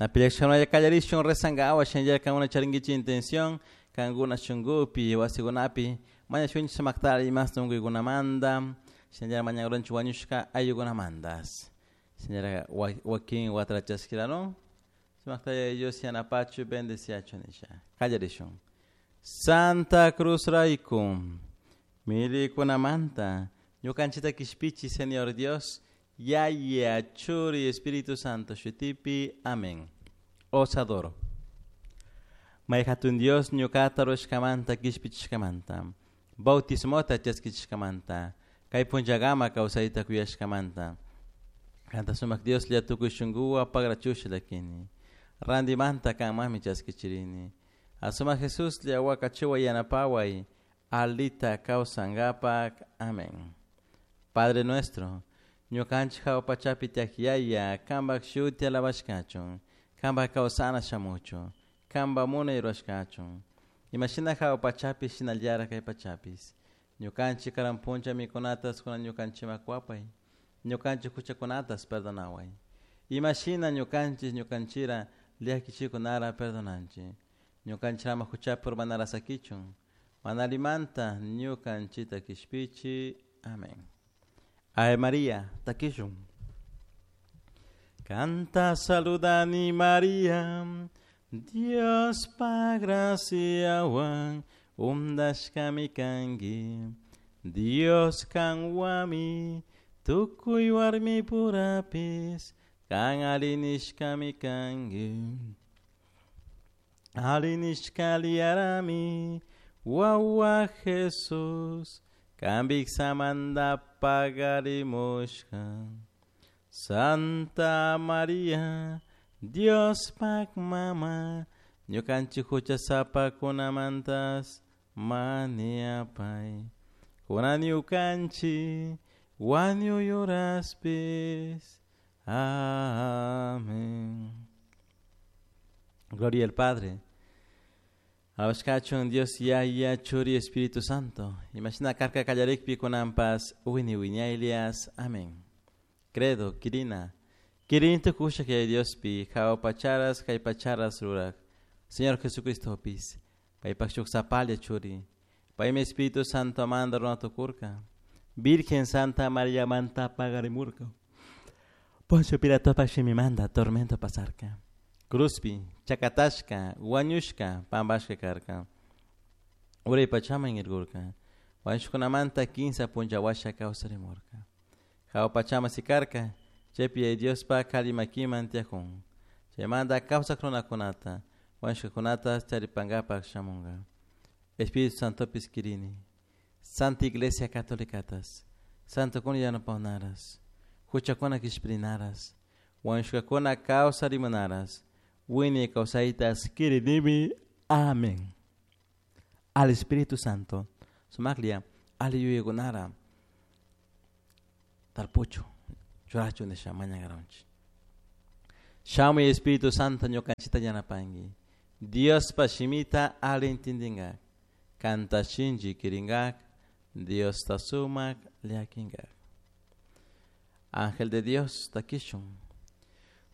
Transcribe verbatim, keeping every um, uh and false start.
Napillashkanaya kallarishun rezangawa shinallara charinkichik intención kankuna shunkupi wasikunapi mañashunchik sumaktari imasta unkuykunamanta shinallara mañakuranchik wañushka ayllukunamantas shinallara wakin watata chaskirarun sumakta Dios yanapachu bendeciachu nisha kallarishun. Santa Cruz rayku milikunamanta ñukanchikta kishpichi Señor Dios Yaya Churi Espíritu Santo shutipi. Amén. Os adoro. May hatun Dios ñuqata rurashkamanta kishpichishkamanta bautismota chaskichishkamanta kay punllakama kawsayta kuyashkamanta kanta sumak Dioslla tukuy shunkuwan pagrachusha llakini rantimanta kanmanmi chaskichirini asumak Jesuslla wakachiway yanapaway alita kawsankapak. Amén. Padre nuestro ñukanchik hawa pachapi tiyak Yaya kanpak shuti alabashkachun kanpak kawsana shamuchun kanpak munay rurashkachun imashina hawa pachapi shinallara kay pachapis ñukanchik karan punlla mikunatas kunan ñukanchikman kuwapay ñukanchik huchakunatas perdonaway imashina ñukanchik ñukanchira llakichikunara perdonanchik ñukanchik ama huchapi urmanara sakichun mana allimanta ñukanchikta kishpichi. Amén. Ave María, takishun. Kanta saludani María, Diospa graciawan undashkami kanki. Dios kanwami tukuy warmi purapis kan arinishkami kanki. Arinishkaliarami wawa Jesús kanpik samanta pagarimushka. Santa María, Diospak mama, ñukanchik huchasapakunamantas mañapay. Kunan ñukanchik wañuy horaspis. Amén. Gloria al Padre. Alabashkachun Dios Yaya Churi Espíritu Santo. Imashina karka kallarikpi kunanpas wini wiñaylias. Amén. Credo, Kirina. Kirin tukusha kay Diospi, hawa pacharas kay pacharas rurak. Señor Jesucristo pis. Paypak shuk sapalla churi. Paymi Espíritu Santo manda runa tukurka. Virgen Santa María manta pagarimurka. Poncio Pilato shimimanta tormento pasarka. Cruzpi, chakatashka, wañushka, pampashka karka. Uray pachaman irkurka. Wañushkunamanta kinsa punlla washa kawsarimurka. Hawa pachama sikarka, chaypi Diospa kali makiman tiyakun. Chaymanta kawsak runakunata, wañushkakunata charipankapak shamunka. Espíritu Santopis kirini. Santa Iglesia Católicatas, Santo kuna yanapawnaras, huchakuna kishpirinaras, wañushkakuna kawsarimunaras, wiñay kawsaytas kirinimi. Amén. Al Espíritu Santo, sumaklla ali yuyaykunara tarpuchu, churachu nisha mañankaranchik. Shamuy Espíritu Santo ñukanchikta yanapanki. Diospa shimita ali entendingak, kanta shinchi kirinkak, Diosta sumak llakinkak. Ángel de Dios takishun.